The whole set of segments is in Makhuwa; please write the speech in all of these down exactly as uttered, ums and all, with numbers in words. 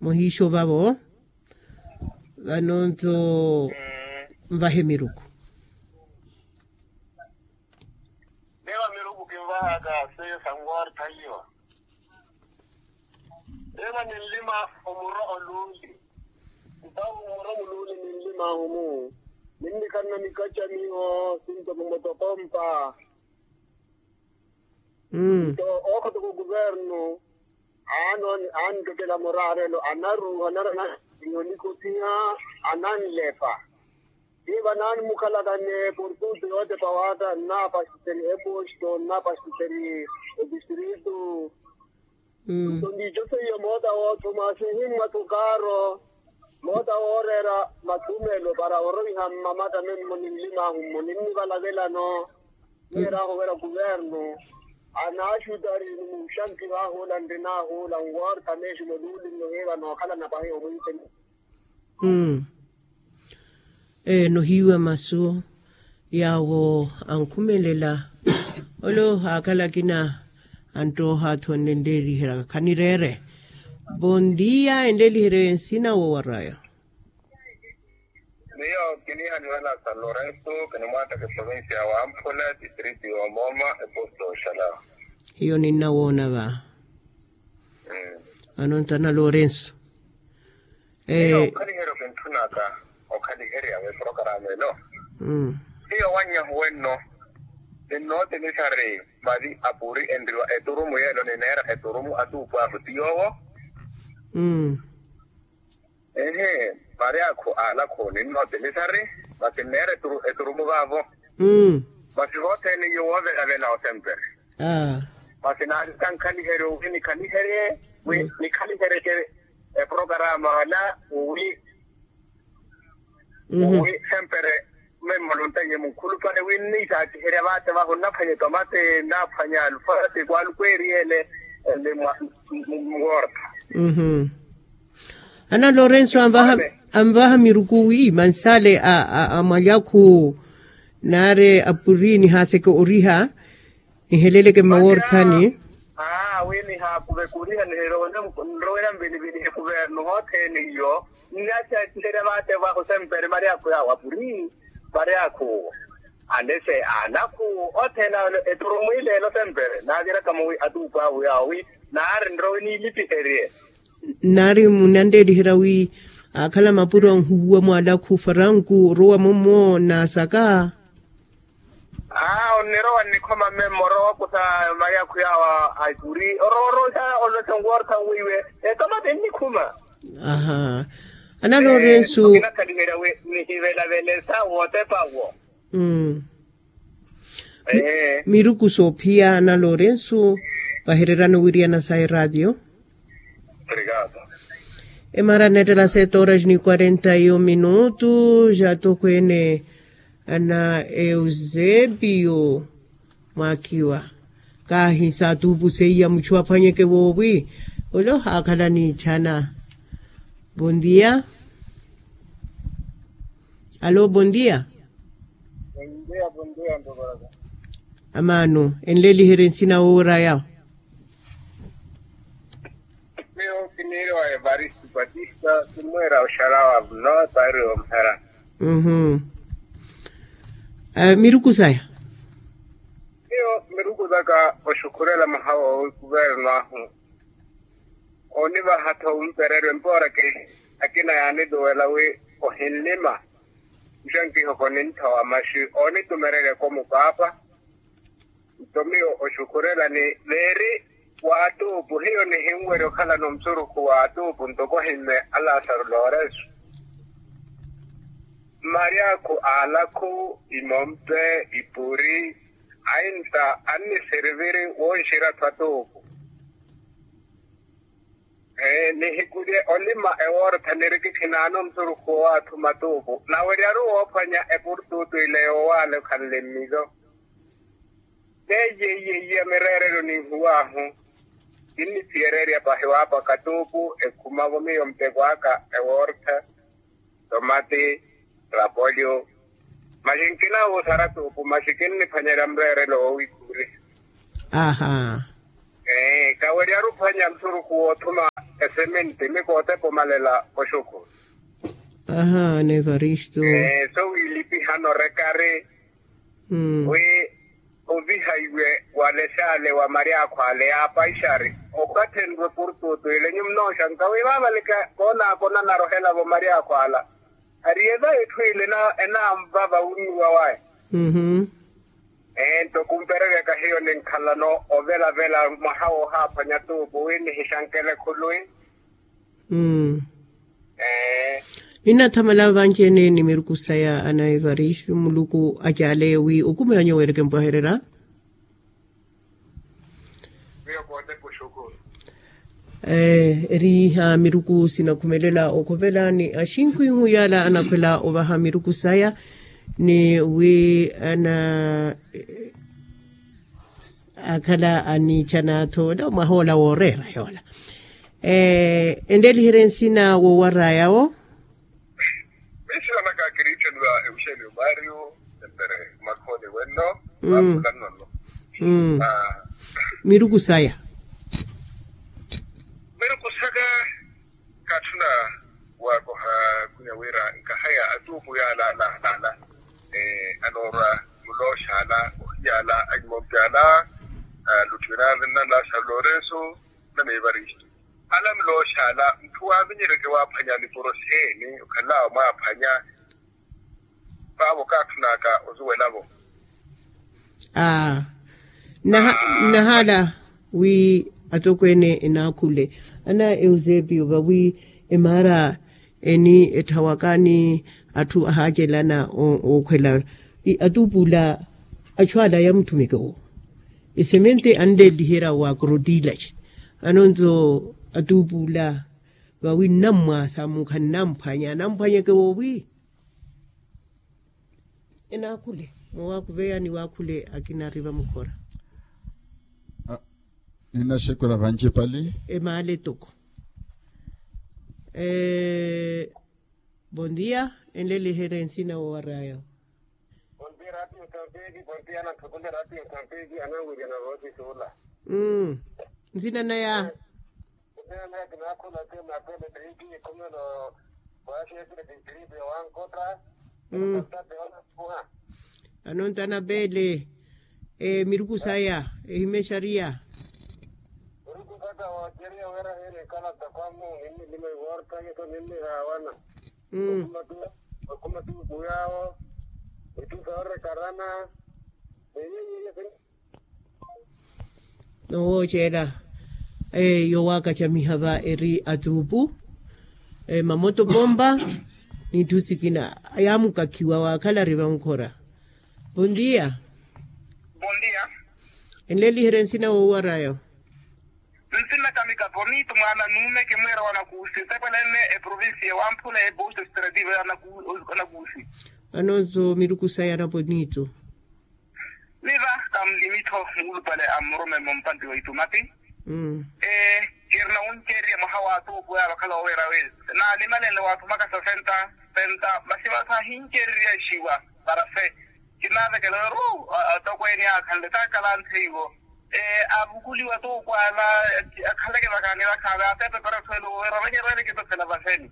Muhiixo vavo. Vano nto nvahe miruku. Neva miruku kinvahaka seiyo sanwartha hiyo. Eva ninlima omuro oluuli. Ntawo omuro muluuli ninlima humu. Ninnikhanna mikacha miho sinto mumotokompa. Nto ookhatoko kuvernu aanttokela muraarelo anaruuha narana. Nnikothiha ananlepa. Tii vanaani mukhalakane portutu yootepa waata nnaapasiseni eposto nnaapasiseni etistritu. Nto ndiico seiyo moota woothuma sihimmwa tukaaro moota wooreera mathumelo para orowiha mmamatta memmo ninlimaahu mmo ninnivalavelano. Neeraahu wira kuvernu anaaxutari ni muuxankiho ahuula nrinaahuula nwoortha meexi moluulinno hiiva nookhalana pahi omwiiteni. Ee nohiiwa masu yaawo ankhumelela. Ole ohaakhala akina anttooha athonne nleeliherya khanireere. Bondia enleeliherye nsina wowaraya. Miyo kiniihaniwela sa lorenso kinimwaattaka eprovincia ya wamphula distrito ya omoma eposto oxalawa. Hiyo ninnawoona va. Vano nttana lorenso. Miyo okhaliheryo kintthunaka okhaliherya veprokarama elo. Hiyo wannyahu wenno ninnootinisari mali apuri enriwa eturumu yeelo nineera eturumu atuupu ahu ti yoowo. Ehe. Mari akhu alakhu ninnootinisari masi nneera eturumu vaavo. Masi vothene iyo woovelavela osempere. Masi naari kankhaliherye wi nikhaliherye wi nikhaliheryeke eprokarama ala wi wi sempere. Memmolo nttaiye munkhulupale wi nniisaatiherya vaate vahu nnaphwanye tomate nnaphwanye alufati kwaaluku eriyele. Ni mwa muwoorta. Ana lorenso anvaha miruku wi mansale a mwalyakhu naari apuri nihaaseke oriha niheleleke mmawoorthani. Aa wi nihaakuveke oriha nihelele nrowela nvilivili ekuvernu hothene iyo. Nnasaatiherya vaate vahu sempere maryakhu yaawo apuri maryakhu anese anakhu othene eturumu ileelo sempere naaviraka muwi atuupu ahu yaawo wi naari nrowe niilipiherye. Nnaari munanleeliherya wi akhala mapuro anhuwuwa mwaalakhu faranku orowa momo nnaasaka. Aa onnirowa nnikhoma mmemmo orowa okusa maryakhu yaawo a ipuri orowa orowa olwesa nkuwortha nwiiwe etomate nnikhuma. Aha. Ana lorenso. Nihivelavelesa wootepa wo. Miruku soophiya ana lorenso vahererana owiriyana sa eratio. Emara nettela sete horas ni quarenta e um minutos atokweene. Ana eusebio mwakiwa kaahisa atuupu seiya muchu aphwanyeke voovi. Ole ohaakhala niichana. Bondia. Alo bondia. Amaano enleliherye nsina woowera yawo. Miyo kiniiriwa evaristo patista. Kimweera oxarawa vno taari omphera. Miruku saya. Miyo miruku saka oxukhurela mahawa owi kuverno ahu oonivaha-tho ompereryo empoora ke akina yaanituwela wi ohinlima. Nxankiho koninthowa maxi oonitumererya komupaapa. Nto miyo oxukhurela ni veeri w'atuupu hiyo nihinwerya okhalana omusurukhu w'atuupu ntoko ohimme alasaru loresu. Mmaryakhu alakhu imompe ipuri ainta anniseriviri wonxira-tho atuupu. Nihikulye olima ewoortha nirikikhi naano musurukhu wowaathuma tuupu naweryaru woophwanya epurtuutu ile yowaale okhanle mmizo. Teiye iye iya mireerelo ninhuwaahu. Kinniphiyererya pahi waapaka tuupu ekhumavo miyo muteko aka ewoortha tomati rapolyo. Maxi nkinawuusara tuupu maxi kinniphwanyerya mureerelo woowikhuriha. Aaha. Ee kaweryaru ophwanya musurukhu woothuma esemente mikootepa omalela oxuku. Aha, ana evaristo. So wiilipihana orekari wi ovihaiwe wale xaale wa mari akhwaale yaapaixari okathi enrwe portutu ile nyumu nooxanka wi vaavalika koonaakonana arohela vo mari akhwaala. Ariye va etthu ile enaamva vawunnuwa waya. Ento kumpereryaka hiyo ninkhalano ovelavela mwaha woohaaphwanya tuupu wi nihixankele khuluwi. Ninathamala vanci-ene ni miruku saya ana evaristo muluku acaaleya wi okumeya nyuwo ereke mpwahererya. Eri iha miruku sinakhumelela okhovela ni axinkhwinhu yaala anakhwela ovaha miruku saya ni wi ana akhala aniichana-tho ola mwaha ola wooreera yoola. Enleliherye nsina woowaraya wo. Miisila naka kiriitteliwa ewuxeeni omaariyo. Empere makhooni wenno. Vaapulannono. Miruku saya. Miruku saka. Kaatthuna waakoha khwinya wira nkahaya atuupu yaala alaalaala anoorwa mulooxaala ohiyaala anyimompi ala. Lutthwina nna na san lorenso na na evaristo ala mulooxaala mutthu waavinyereke waaphwanya nipuro xeeni okhalelawe mwaaphwanya. Vaavo kaatthunaka osuwelavo. Aa. Nnahaala wi atokweene enaakhule ana eusepio vawi emaara eni etthawaka ni atthu ahaacelana ookhwela atuupuula. Achu ala yamutthumeke owo esemente anleliherya wa krotilaci anonto atuupuula vawi nnammwaasa mukha nnamphwanya namphwanyeke woowi. Enaakhule moowaakhuveya ni waakhule akina ari vamukhora. Ninaxekwela vanci pali emaale toko. Bon dia. Enleliherye nsina woowaraya. Nsina naya. Anonta anapeele miruku saya ehimexariya. Miruku saka woocereya wira hiiri ekalata kwamu ninni lima ivorta yeto ninni haawana. Okhuma tuuku yaawo. Etthu soorekarana. Noowoocela. Yowaakacamiha va eri atuupu mamoto pompa n'itthu sikina yaamukakhiwa waakhala ari vamukhora. Bon dia. Bon dia. Enleliherye nsina woowaraya. Nsina kamika ponito mwaana nuume kimwiira wanakuusi nsekwelene eprovincia ewamphula ebosto estrativa anakuusi. Anonso miruku saya na ponito. Miva kamlimitho muulupale a mmurume mumpanti wa itumati. Ee kirina wuncererya mwaha wa tuupu ya vakhala wowira wi naalimalele waathumaka sasenta senta masi vathu ahincererya exiwa. Para se kinaavekela weru atokweene akhanle taakalantheiwo. Avukuliwa tuupu ala akhaleke vakhaani vakhaani atepe para swelo weru avanyerwele kipesela vaseni.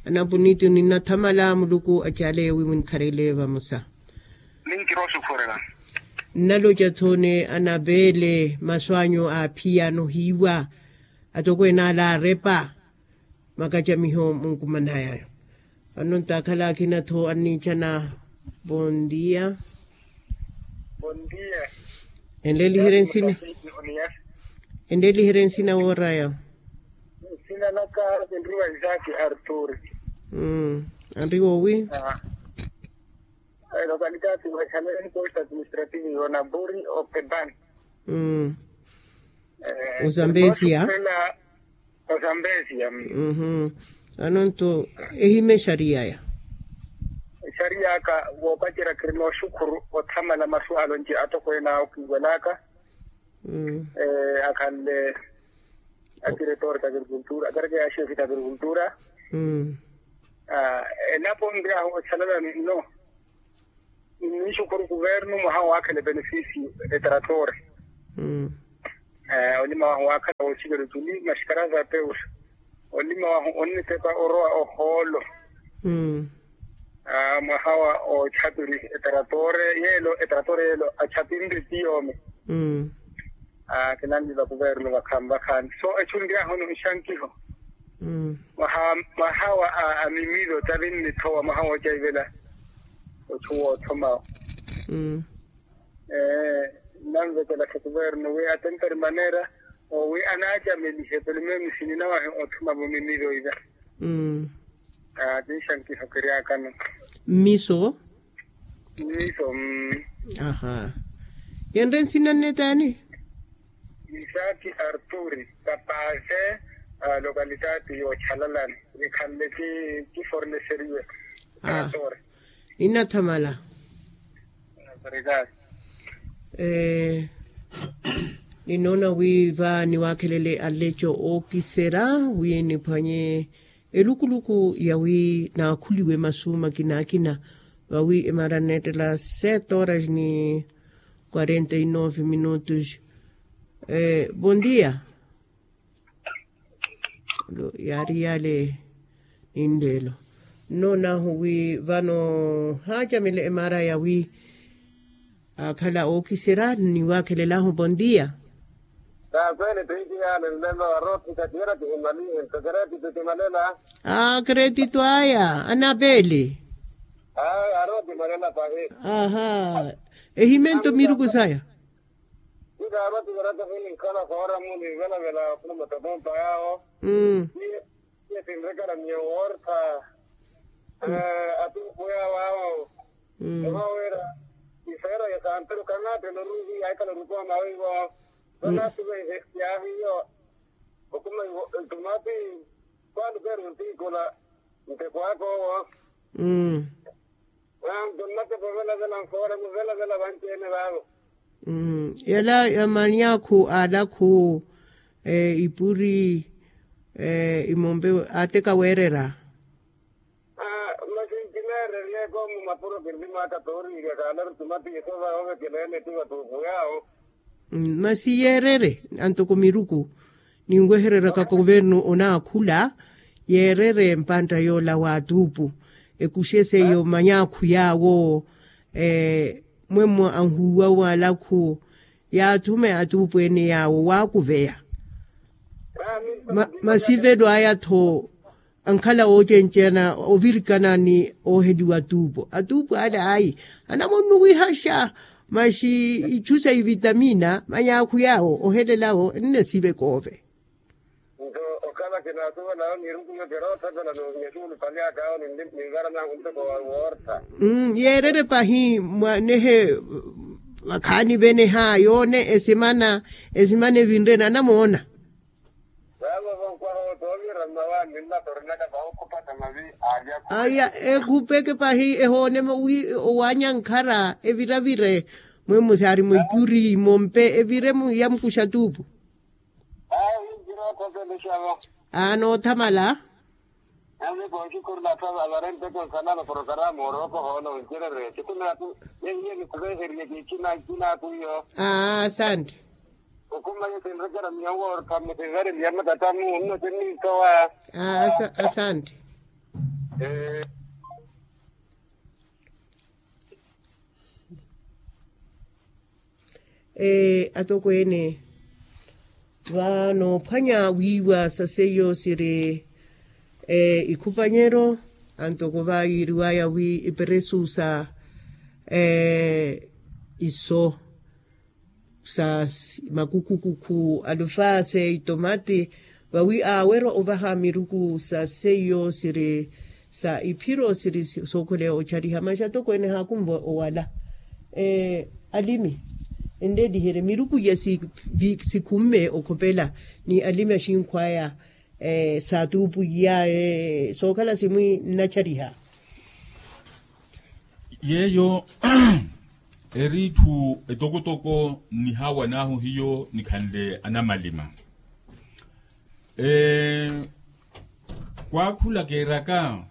Ana punito ninathamala muluku acaaleya wi munkharele vamosa. Ninkira osukhurela. Nnaloca-tho ni anaveele masu anyu aaphiya anohiiwa atokweene ala aarepa makacamiho munkumanaya. Vano ntaakhala akina-tho anniicana. Bon dia. Enleliherye nsina. Enleliherye nsina wooraya. Nsina naka kinriwa isaki arturi. Anriwa owi? Localidade wexaleni posto administrativo yona buri opeban. Ozambesia. Ozambesia. Anonto ehima exariya aya. Exariya aka woopacerya kirina oxukhuru othamala masu alonci atokweene awo kiiwelaka. Akhanle adiretor d'agricultura adareke ya xefi d'agricultura. Elapo nri ahu exalala ninno. Ninxukhuru kuvernu mwaha waakhela ebenefisio etrator. Olima wahu waakhala woochikela otuli maxikara za peus. Olima wahu onnetepa orowa ohoolo. Mwaha wa ochapiri etrator yeelo etrator yeelo achapinre ti yoome. Kinanli vakuverno vakhaani vakhaani so echunryahoni nxankiho. Mwaha wa amimilo tavinni thowa mwaha woocaivela ochu woothomawo. Nanvekela khukuverno wi atentari manera owi anaacamelihe pelo meemusi ninawahi othuma vomimiro ila. Tinxankiho kiryakano. Mmiso. Mmiso. Aha. Yenre nsina nne taani? Isaki arturi kapase. Lokalitati yochalalani nikhanle ki forneseriwe. Tore. Inathamala. Ninoona wi va niwaakhelele aleco ookisera wi niphwanye elukuluku yawi naakhuliwe masu makina akina. Vawi emara neettela sete horas ni quarenta e nove minutos. Bon dia. Yaari yale. Ninleelo nnoonahu wi vano haacamela emara yawi akhala ookiserya niwaakhelelahu bon dia. Aa keretito aya anapele. Aha. Ehimento miruku saya. Itaarwa tiverata hininkhala foora muni velavela khuluma tatompa yawo. Iye sinrekera miyo woortha. Atumpu yawo awo. Ovaweera isera ya santeru kanatela oruvi aikala orukooma wivo. Vanasive yaahiyo okuma ivo ntumati. Kwalukeru ntiikola nteko akowo. Mmm. Mwanto nnatepa ovelavela nfoora muvelavela vanci-ene vaavo. Yala ya manyaakhu alakhu ipuri imompe ateka weerera. Masi nkineereryeeko mu mapuro kinlimaka tooriirya kaalaru tumatiiso vaovekeleene ti vatuupu yaawo. Masi yeerere antoko miruku ninwehereraka kovernu onaakhula yeerere mpantta yoola w'atuupu ekuxe seiyo manyaakhu yaawo. Mwemmo anhuuwa w'alakhu yaathume atuupu ene yaawo waakuveya. Masivelo aya-tho ankhala woocenceyana ovirikana ni ooheliwa atuupo atuupo ale ayi anamonnuwihaxa. Maxi ichu sa ivitamina manyaakhu yaawo ohelelawo ennesive koove. Nto okhala kinaasuwelawo nirukuyo keroothapela nohinya xuulupali akawo ninvara nangu ntoko woortha. Yeerere pahi mwanehe vakhaani veneha yoone esimana esimana evinre nanamoona. Aya ekhupeke pahi ehoonema wi owaanya nkhara eviravire mwemmo saari mwitturi mompe evire ya mukuxa tuupu. Aa noothamala. Aa asante. Asante. Atokweene va noophwanya wiiwa sa seiyo siri ikhupanyero antoko va yiiriwaya wi iperesu sa iso sa makukukukhu alufase itomati vawi aawerwa ovaha miruku sa seiyo siri sa iphiro siri sookhole ochariha maxi atokweene haakunva owala. Alimi enleeliherye miruku ya sikhumme okhopela ni alimi axinkhwaya. Saatuupu iya sookhala simwi nnachariha. Yeeyo eri itthu etokotoko nnihawan'ahu hiyo nikhanle anamalima. Khwaakhula keeraka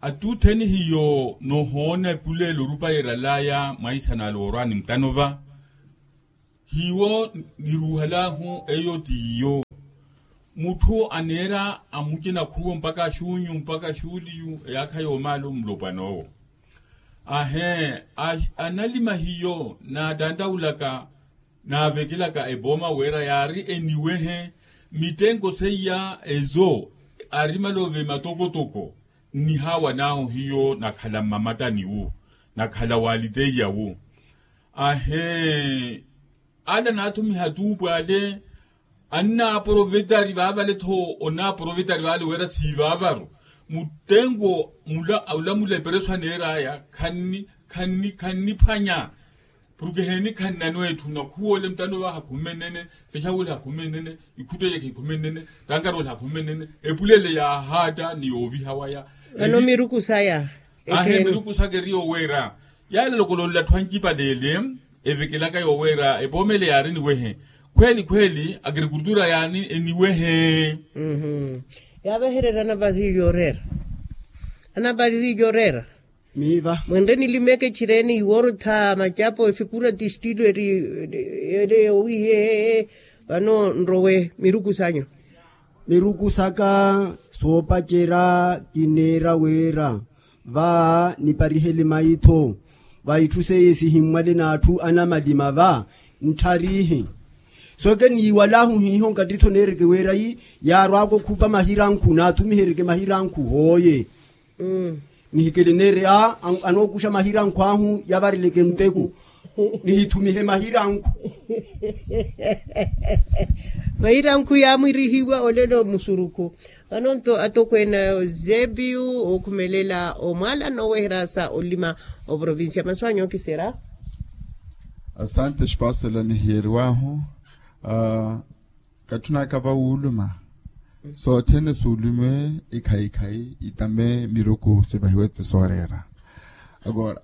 attutheni hiyo nohoona epuleelo orupa yeeral'aya mwaisana ale woorwaani mutano va. Hiwo niruuhalahu eyo t'iyo. Mutthu aneera amucina khuwo mpakha xuunyu mpakha xuuliyu eyaakha yoomaala omulopwan'owo. Ahee, analima hiyo naatanttaulaka naavekelaka epooma wira yaari eniwehe mittenko seiya ezo. Arimala ove matokotoko nnihaawan'ahu hiyo nakhala mmamattani wu nakhala waliteiya wu. Ahee, ala naathumiha tuupu ale annaaprovetari vaavale-tho. Onaaprovetari vaale wira siivaavaru muttenko mula olamula epereso aneer'aya khanni khanni khanniphwanya. Porke heeni khannano etthu nakhuwoole mutano vaha khumennene. Fexawele hakhummennene. Ikhutteyekhe ikhummennene. Tankarowele hakhummennene. Epulele yaahaatta ni yooviha waya. Vano miruku saya. Ahe miruku saka eri yoweera yaale lokolonla atthu ancipaleele evekelaka yoweera epoomele yaari eniwehe. Khweeli khweeli agrikultura yaani eniwehe. Yaavehererya anapari yoreera. Anapari yoreera. Miiva mwenre nilimeke xireeni iworotha macapo efikura ti estilo eri eri owihehe. Vano nrowe miruku sanyu. Miruku saka soopacerya kineera wira va niparihele maitho va itthu seiye sihimmwale n'atthu anamalima va nttharihe. Soke niiwalahu hiiho nkattitho neereke wira yi yaarwaka okhupa mahirankhu naathumihereke mahirankhu hooye. Nihikele neeri a anookuxa mahirankhu ahu yavareleke nteko. Nihithumihe mahirankhu. Mahirankhu yaamwirihiwa olelo musuruku. Vano-nto atokweene a eusebiyu ookhumelela omwaala nooweherya sa olima oprovincia masu anyu okiserya. Asante espaso ela nihiyeriwahu. Katthunaka va wuuluma soothene suulumiwe. Ekhayikhayi itame miruku sivahiwe ti sooreera. Agora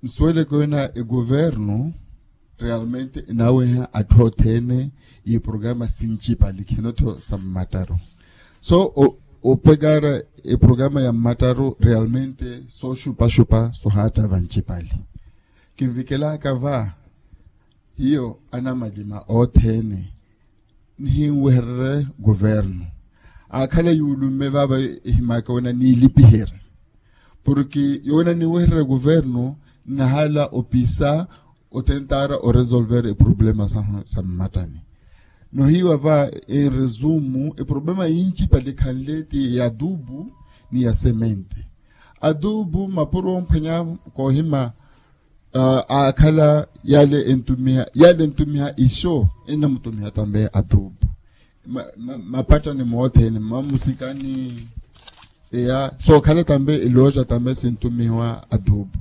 nsuweleke wina eguvernu realmente enaaweha atthu othene. Iprograma sincipali khino-tho sa mmattaru. So opekara eprograma ya mmattaru realmente sooxupaxupa sohaatta vancipali. Kinvikelaka va hiyo anamalima othene nihinwehererye guvernu. Aakhala yuulumme vaava ehimaka wina niilipiherya porke yowina ninwehererya guvernu nnahala opisa otentara oresolver eproblema sahu sa mmattani. Nohiiwa va enresumu eproblema yincipali ekhanle ti ya adubu ni ya semente. Adubu mapuro omphwanya koohima aakhala yale entumiha yale entumiha iso ennamutumiha tambe adubu. Mapattani moothene mmamusikani eya sookhala tambe elooja tambe sintumihiwa adubu.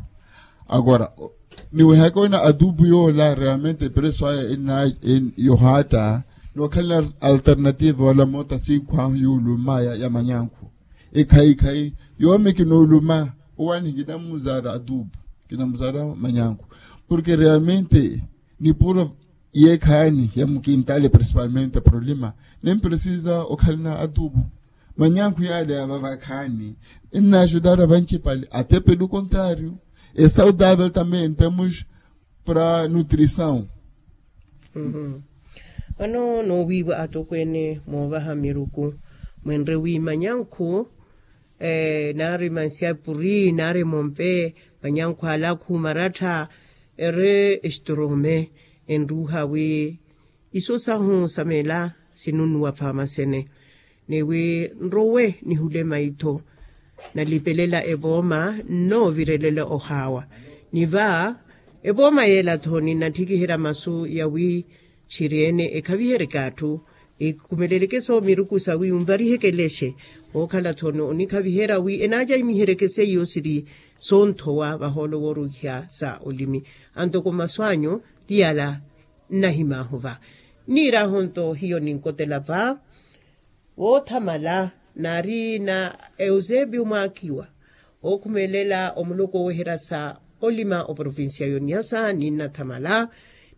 Agora niwehaka wina adubu yoola realmente epreso aya yohaatta nookhalana alternative wala moota sinkhu ahu yuulumaya ya manyankhu. Ekhayikhayi yoomi kinooluma owaani kinamuzaara adupu kinamuzaara manyankhu. Porke realmente nipuro yeekhaani ya mukintale principalmente problema nimpresiza okhalana adupu. Manyankhu yaale ya vavakhaani ennaaxutara vancipale atepe lukontrario. Esaudavel tambe entemus para nutrisaw. Vano noowiiwa atokweene moovaha miruku mwenre wi manyankhu naari mansiapuri naari mompe manyankhu alakhu marattha eri estorome enruuha wi iso sahu sa meela sinunnuwa phaama sene. Ni wi nrowe nihule maitho nalipelela evooma nnoovirelela ohaawa. Ni va evooma yeela-tho ninnattikiherya masu ya wi tthiri-ene ekhaviheryeke atthu ekhumeleleke-so miruku sa wi onvariheke elexe. Wookhala-tho onikhaviherya wi enaacayimiheryeke seiyo siri soonthowa vahoolo wooruuhiha sa olimi. Antoko masu anyu ti yala nnahimaahu va. Niiraahu-nto hiyo ninkotela va woothamala naari na eusebio mwaakiwa ookhumelela omuluku oweherya sa olima oprovincia yoniasa ninnathamala.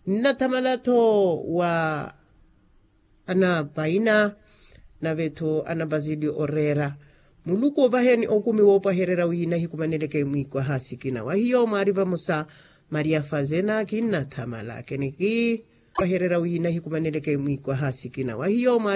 Ninnathamala-tho wa anapaina nave-tho anapazili oreera muluku ovaheni okumi woopwahererya wi nahikumaneleke mwiikwaha sikina wa hiyo mwaari vamosa maria fazena kinnathamala keneki. Wahererya wi nahikumaneleke mwiikwaha sikina wa hiyo mwa